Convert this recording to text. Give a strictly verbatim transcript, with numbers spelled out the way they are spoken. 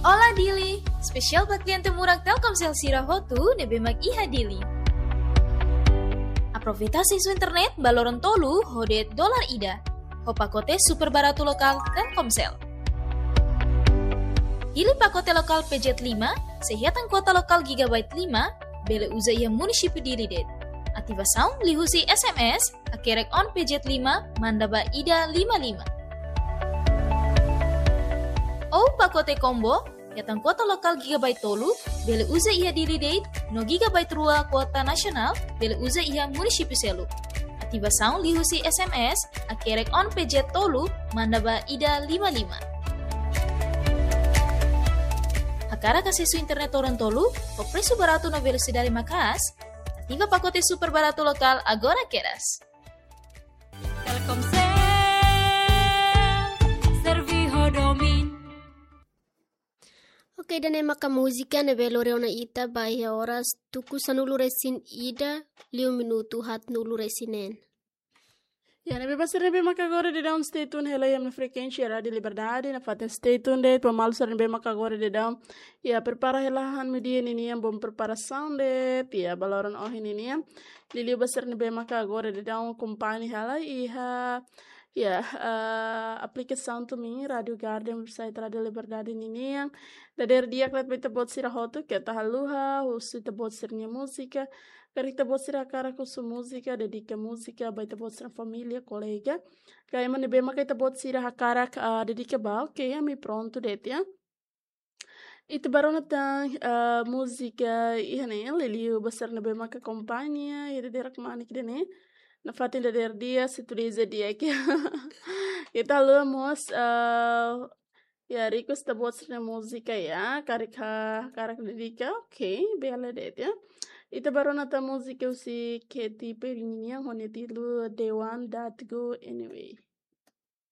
Olá Dili, espesiál ba kliente murak Telkomsel sira hotu ne'ebé mak iha Dili. Aproveita asesu internet ba loron tolu ho de'it dolar ida, ho pakote super baratu lokál Telkomsel. Pilih pakote lokál P Z lima, sei hetan kuota lokál gigabyte lima, bele uza iha munisípiu Dili de'it. Ativasaun liuhusi S M S, hakerek on P Z lima, manda ba ida lima lima. Ou pakote combo, hetan kuota lokál gigabyte tolu, bele uza iha Dili de'it, no gigabyte rua kuota nasionál, bele uza iha munisípiu seluk. Ativasaun liuhusi S M S, hakerek on P Z tolu, manda ba ida lima lima. Hakarak asesu internet loron tolu, ho presu baratu no velosidade maka'as, ativa pakote super baratu lokál agora kedas. Telkomsel, servi ho domin. Oke, ida-ne'e maka múzika ne'ebé lori ona ita ba iha oras tuku sanulu-resin-ida, liu minutu haatnulu-resin-neen. Ya, ne'ebé ba sira ne'ebé maka agora daudaun stay tune hela iha ami-nia frekuénsia Rádiu Liberdade, nafatin stay tune de'it, ba maluk sira ne'ebé maka agora daudaun. Ya, prepara hela han meiudia ninian, bom preparasaun de'it, ya, ba loron ohin ninian. Liuliu ba sira ne'ebé maka agora daudaun akompaña hela iha, ya, eh, aplikasaun Tumin, Rádiu Garden, website Rádiu Liberdade ninian. Dadeer di'ak ba ita-boot sira hotu, keta haluha husu ita-boot sira-nia múzika. Karik ita-boot sira hakarak husu múzika, dedika múzika ba ita-boot sira-nia família, kolega, ka ema ne'ebé maka ita-boot sira hakarak, ah, dedika ba, oke, ami prontu de'it, ya. Ita bá rona tan, ah, múzika iha ne'e, liuliu ba sira ne'ebé maka akompaña iha dadeer kmanek ida-ne'e. Nafatin dadeer di'ak, sei tuda di'ak. Keta haluha mós, ah, ya, request ita-boot sira-nia múzika, ya, karik ha-, hakarak dedika, oke, bele de'it, ya. Ita bá rona tan múzika husi Katy Perry nian, ho nia títulu The One That Go Anyway.